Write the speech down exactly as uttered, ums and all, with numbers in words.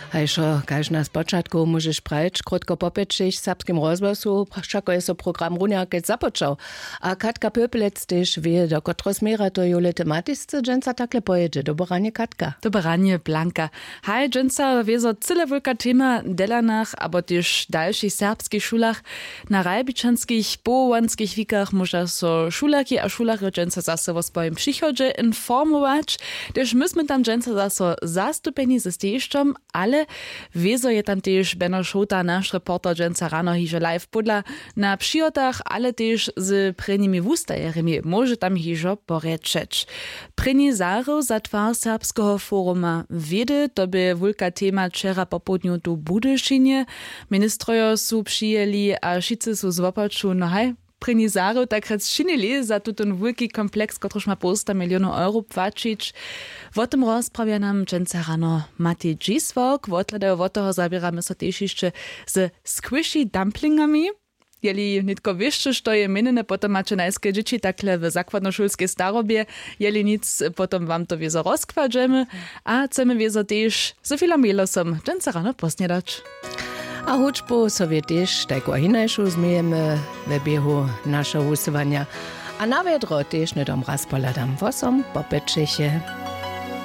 Hajšo, kaž na spočatku móžeš prajć krótko po pěćich w serbskim rozhłosu, wšako je so program runja kec započał. A katka pöpelec tež wě do kotreho směra to jule tematisce dźensa takle pojědźe. Doboranje katka. Doboranje blanka. Haj, dźensa wězo cyle wulka tema w delanach abo tež w dalšich serbskich šulach. Na ralbičanskich powołanskich wikach móža so šulerki a šulerjo dźensa zaso wo swojim přichodźe informować. Tež my smy tam dźensa zaso zastupjeni ze stejišćom, ale wězo je tam tež beno šołta naš reporter dźensa rano hižo live pódla na přihotach, ale tež z prěnimi wustajerjemi móže tam hižo porječeć. Prěni zahryw za twar serbskeho foruma wědy, to bě wulka tema wčera popołdnju tu w budyšinje. Ministrojo su přijeli a wšitcy su z wopaču no haj prěni zahryw takrjec činili za tutón wulki kompleks kotryž ma połsta milionow euro płaćić. Wo tym rozprawja nam dźensa rano matej dźiswork wothladaju wot toho zaběramy so tež hišće ze squishy dumplingami. Jeli nětko wěsće što je měnjene potom maće najske dźěći takle w zakładnošulskej starobje. Jeli nic potom wam to wězo rozkładźemy. A chcemy wězo tež z filom jelosom dźensa rano posnjedać. A hudźbu so wě tež tajku a hinašu změjemy we běhu našeho wusyłanja. A na wjedro tež hnydom raz pohladam wosom po pěćeche.